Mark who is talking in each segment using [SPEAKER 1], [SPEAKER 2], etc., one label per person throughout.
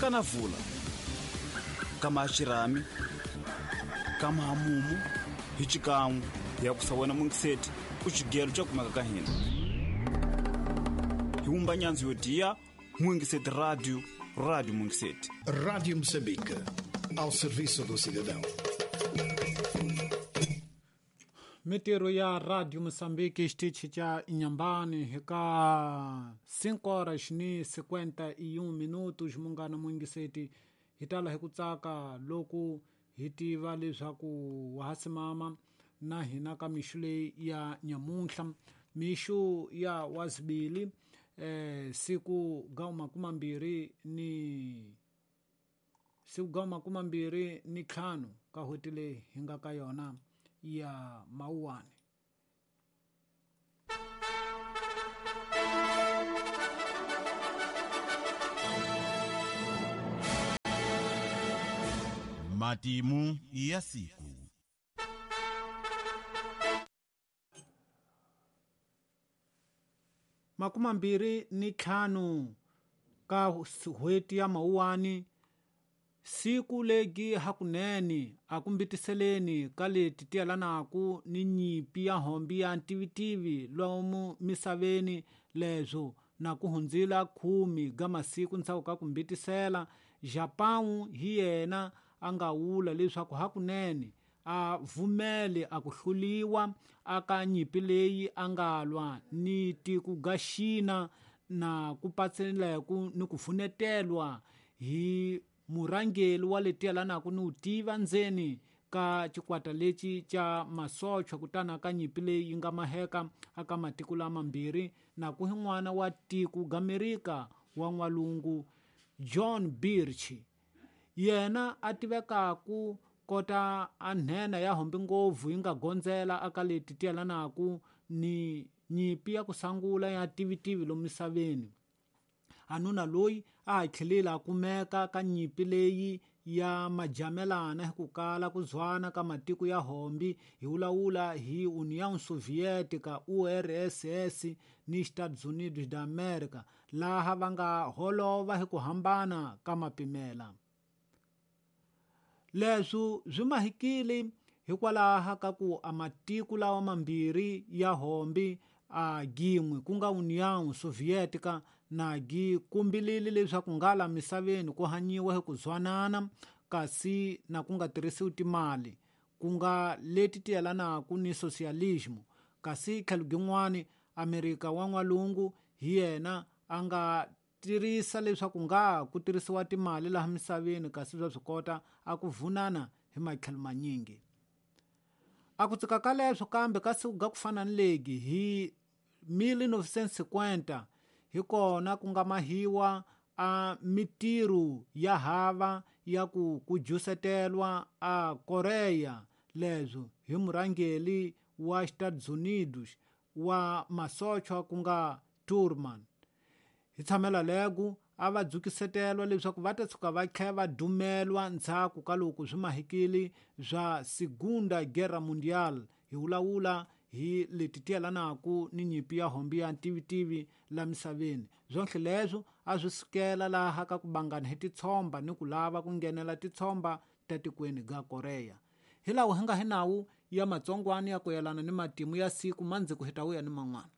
[SPEAKER 1] Kana vula kama xirhami kama hamumu hi xikan'we ya ku sa wena mungiseti ku xigelo xa kumeka ka hina hi wumba nyandzu yo diya Mungiseti Rádio, Rádio Mungiseti.
[SPEAKER 2] Rádio Moçambique, ao serviço do cidadão.
[SPEAKER 3] Mitirho ya Radio Moçambique xitichi xa Inhambane hi ka 5 horas ni 51 minutos. Munghana Mungiseti, hi tala hi ku tsaka loko hi tiva leswaku wa ha simama na hina ka mixo leyi ya nyamuntlha, mixo ya wazibili, siku ga 25 ka n'hweti leyi hi nga ka yona ya Mawuwani.
[SPEAKER 4] Matimu ya siku.
[SPEAKER 3] 25 ka n'hweti ya Mawuwani, siku legi hakunene akumbitiseleni ka leti ti yelanaku ni nyimpi ya hombi ya ntivitivi lomu misaveni. Leswo na ku hundzila 10 ga masiku ndzhaku ka kumbitisela, Japão hi yena a nga wula leswaku hakunene a vumele a ku hluliwa aka nyimpi leyi a nga lwa ni tiko ga Xina na ku patseleku ni ku pfunetelwa hi murhangeri wa leti yelanaku ni u tiva ndzeni ka xikwata lexi xa masocha kutani ka nyimpi leyi yi nga maheka aka matiko lamambirhi na ku hi n'wana wa tiko ga Amerika wa n'walungu John Birch, yena a tivekaku kota a nhenha ya hombi ngopfu yi nga gondzela aka leti ti yelanaku ni nyimpi ya ku sangula ya tivitivi lomu misaveni. Anuna loyi a ha tlhelile a kumeka ka nyimpi leyi ya majamelana hi ku kala ku zwana ka matiko ya hombi, hi vulavula hi União Soviética, URSS ni Estados Unidos da América, laha va nga holova hi ku hambana ka mapimela. Leswi swi mahikile hikwalaho ka ku a matiko lawa mambirhi ya hombi a gin'we ku nga União Soviética na gi kumbilile leswaku nga la misaveni ku hanyiwa hi ku zwanana kasi na ku nga tirhisiwi timali ku nga leti ti yelanaku ni socialismo. Kasi tlhelo gin'wani Amerika wa n'walungu hi yena a nga tirhisa leswaku nga ku tirhisiwa timali laha misaveni kasi bya swi kota a ku vunana hi matlhelo manyingi. A ku tsika ka leswo kambe ka siku ga ku fana ni legi hi 1950 hi kona ku nga mahiwa a mitirho ya hava ya ku kujusetelwa a Korea, leswo hi murhangeri wa Estados Unidos wa masocha ku nga Truman. Hi tshamela legu a va dzukisetelwa leswaku va ta tshuka va tlhela va dumelwa ndzhaku ka loko swi mahikile swa Segunda Guerra Mundial, hi vulavula hi leti ti yelanaku ni nyimpi ya hombi ya ntivitivi la misaveni. Swonhle leswo a swi sukela laha ka ku bangana hi titshomba ni ku lava ku nghenela titshomba ta tikweni ga Korea. Hi lawo hi nga hi nawu ya matsongwana ya ku yelana ni matimu ya siku mandziko hi ta wuya ni man'wana.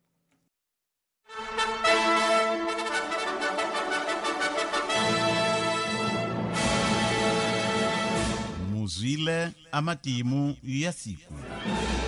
[SPEAKER 4] Muzwile amatimu ya siku.